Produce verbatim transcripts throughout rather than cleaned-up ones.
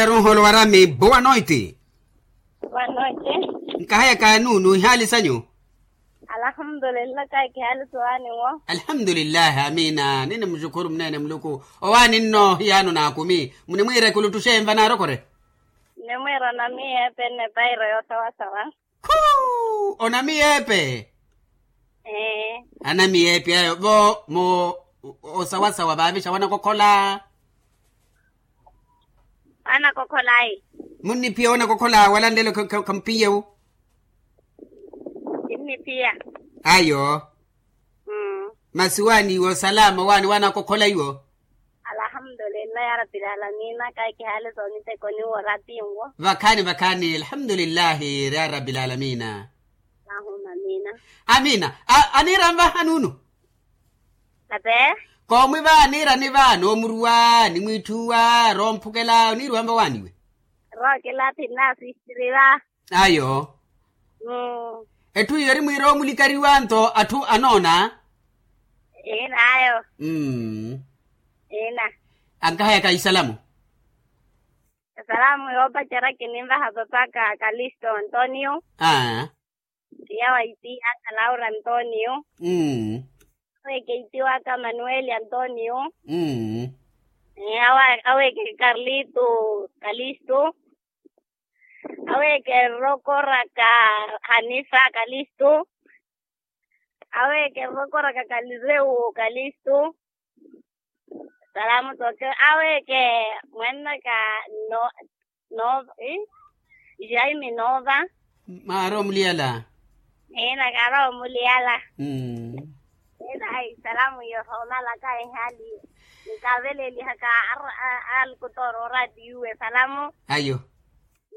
Runholo warami boa noite. Boa noite. Nkahayaka nuunu ihaali sanyu? Alhamdulillah kaiki haali sowaani wo. Alhamdulillah amina nini mushukuru munene muluku. Owaani nno hiyaano naakumi munimwiire kulutuxe enva naarokore. Nimwiira namiyeepe nne pairo yoosawasawa. Khuu onamiyeepe. Anamiyeepe ayo vo mu osawasawa vaavixa wanakokhola. Wanakokhola ayi. Munniphiya wanakokhola wala nlelo khamuphiyewu. Kinniphiya. Ayo. Masi waaniiwo salama waani wanakokhola iwo. Alhamdulillah ya rabbil alamina kaiki haali soonitekoni woora atiinwo. Vakhaani vakhaani alhamdulillahi ya rabbil alamina. Amina. Aniira nvaha nuunu. Koomwi vaaniira ni vaani omuruwa ni mwiitthuwa roomphukela oniiruwa nvawaaniwe. Rookela phinna asistiriwa. Ayo. Etthu iyo eri mwiira omulikariwa nto atthu anoona. Iina ayo. Iina. Ankahayaka isalamu. Esalamu yoopacerya kininvaha papaka kalisto antonio. Tiya wa itiya aka laura antonio. Aweeke itiwaka manueli antonio. Aweeke karlito kalisto. Aweeke errokoraka hanifa kalisto. Aweeke errokoraka kalirewo kalisto. Salamu toke aweeke mwennaka no no. Jaime nova. Mwaari omuliyala. Ina kaari omuliyala. Ina ayi salamu iyo soomalaka ehali nkavelelihaka. Alikutoora oratiyuwe salamu. Ayo.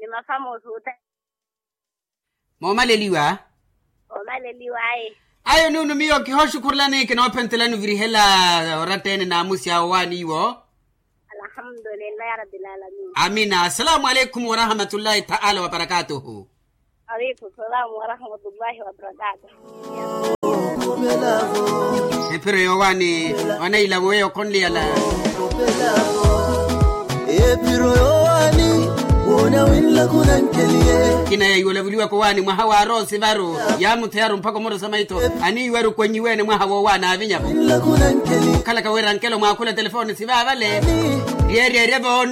Ni mafamosi ute. Moomaleliwa. Ayo nuunu miyo kihooxukhurelani kinoophentelani ovirihela oratta-ene naamusi awo waaniiwo. Amina assalamu aleikum warahmatullahi taala wabarakatuhu. Ephiro yoowaani. Oneila weyo khonliyala. Ephiro yoowaani. Woona winlaku nankeliye. Kina yaiwolavuliwaka owaani mwaha wa arosi varu yaamutheyaru mpakha omorosa maito. Aniiwaru kwenyiweene mwaha woowaani avinyavo. Okhalaka wira nkelo mwaakhula telefoni sivaavale. Ryeeryeerye voona.